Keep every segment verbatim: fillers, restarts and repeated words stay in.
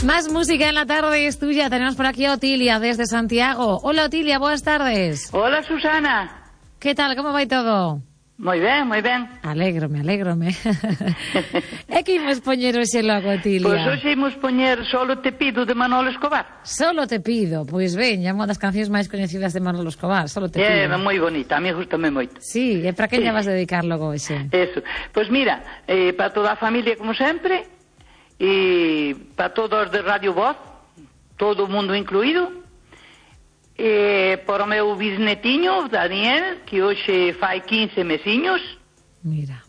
Más música en la tarde es tuya. Tenemos por aquí a Otilia desde Santiago. Hola Otilia, buenas tardes. Hola Susana. ¿Qué tal? ¿Cómo va todo? Moi ben, moi ben. Alégrome, alégrome. É que imos poñer hoxe logo, Otilia? Pois hoxe imos poñer Solo te pido de Manolo Escobar. Solo te pido, pois ben, é unha das cancións máis coñecidas de Manolo Escobar. Solo te pido. É moi bonita, a mí gustame moito. Sí, e para que sí. lle vas dedicar logo hoxe? Eso, pois mira, eh, para toda a familia como sempre, e para todos de Radio Voz, todo o mundo incluído, e para o meu bisnetiño, Daniel, que hoxe fai quince mesiños. Mira.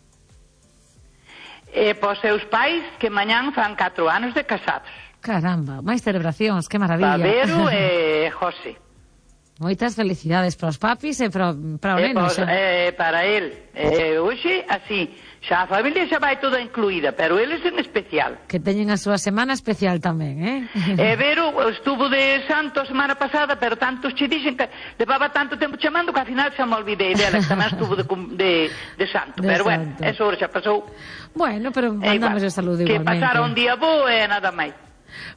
E para os seus pais, que mañán fan catro anos de casados. Caramba, máis celebracións, que maravilla. Babero e José. Moitas felicidades para os papis e para, para o e neno. Pos, e para el. E hoxe, así, xa a familia xa vai toda incluída, pero eles en especial. Que teñen a súa semana especial tamén, eh? E Vero estuvo de santo a semana pasada, pero tantos che dixen que levaba tanto tempo chamando que ao final xa me olvidei dela, que tamén estuvo de, de, de santo. De pero santo. bueno, eso xa pasou. Bueno, pero mandamos o saludo que igualmente. Que pasara un día bo e nada máis.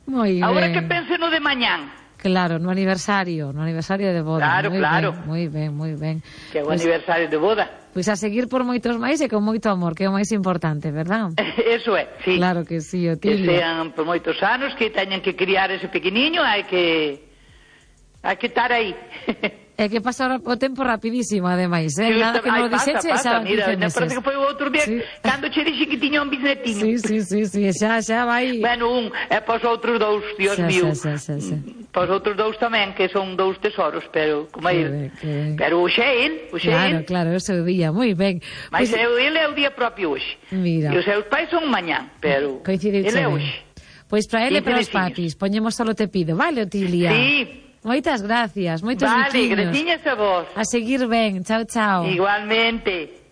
Moi ben. Agora que pense no de mañán. Claro, no aniversario, no aniversario de boda. Claro, muy claro. Ben, moi ben, moi ben. Que é o pues, aniversario de boda. Pois pues a seguir por moitos máis e con moito amor, que é o máis importante, verdad? Eso é, sí. Claro que sí, Que Otilia. sean por moitos anos, que teñan que criar ese pequeniño, hai que hai que estar aí. É que pasa o tempo rapidísimo, ademais, eh? Sí, Nada que non ai, lo dixeche, pasa, xa pasa, mira, me parece que foi o outro día, sí. cando che dixen que tiña un bisnetiño. Sí, sí, sí, sí, xa, xa vai. Bueno, un, e pos outros dous, Dios xa, mío. Xa, xa, xa, xa. Pos outros dous tamén, que son dous tesoros, pero como Que ele. ben, que ben. Pero hoxe é el, hoxe Claro, é el. claro, ese é o día, moi ben. Mas Pois- pues, ele é o día propio hoxe. Mira. E os seus pais son mañán, pero Coincide ele é ben. hoxe. Pois para ele e para os quince papis, veciños. poñemos Solo te pido, vale, Otilia? Sí. Moitas gracias, moitos Vale, biquiños. gratiñas a vos. A seguir ben, chao, chao. Igualmente.